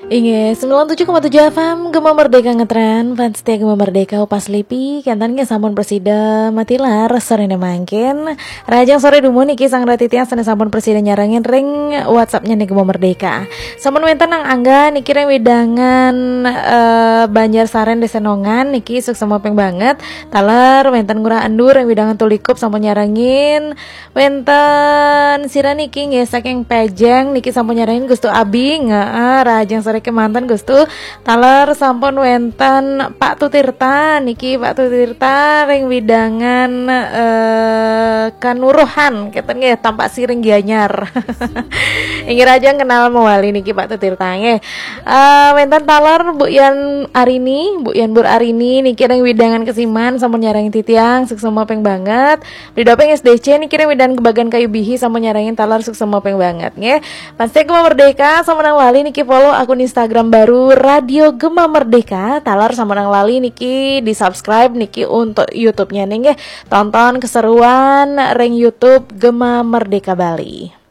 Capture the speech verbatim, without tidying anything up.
Inggih, sembilan tujuh koma tujuh F M Gema Merdeka ngetren, fans setia Gema Merdeka Upas Lipi, kénten nggih sampun prasida matilar soréné mangkin. Rahajeng soré dumun niki sareng titiang sané sampun prasida nyarengin ring WhatsApp-nya nih Gema Merdeka. Sampun wénten Nang Angga niki ring wewidangan eh, Banjar Saren Désa Nongan niki suksma ping banget. Taler wénten Ngurah Endur ring wewidangan Tulikup sampun nyarengin. Wénten sira niki nggih saking Pejeng niki sampun nyarengin Gustu Abi, nggih, rahajeng soré kémanten Gustu. Taler sampun wénten Pak Tutirta niki, Pak Tutirta ring wewidangan eh, Kanuruhan kénten nggih, Tampak Siring Gianyar. Inggih rahajeng kenal mawali niki Pak Tutirta nggih. Eh, wénten taler Bu Yan Arini, Bu Yan Bur Arini niki ring wewidangan Kesiman sampun nyarengin titiang suksma ping banget. Beli Dopeng S D C niki ring wewidangan Gebagan Kayu Bihi sampun nyarengin taler suksma ping banget nggih. Fans setia Gema Merdeka, sampun nang lali niki follow akun Instagram baru Radio Gema Merdeka. Taler sampun nang lali niki di-subscribe niki untuk YouTube-nya nih nggih. Tonton keseruan ring YouTube Gema Merdeka Bali.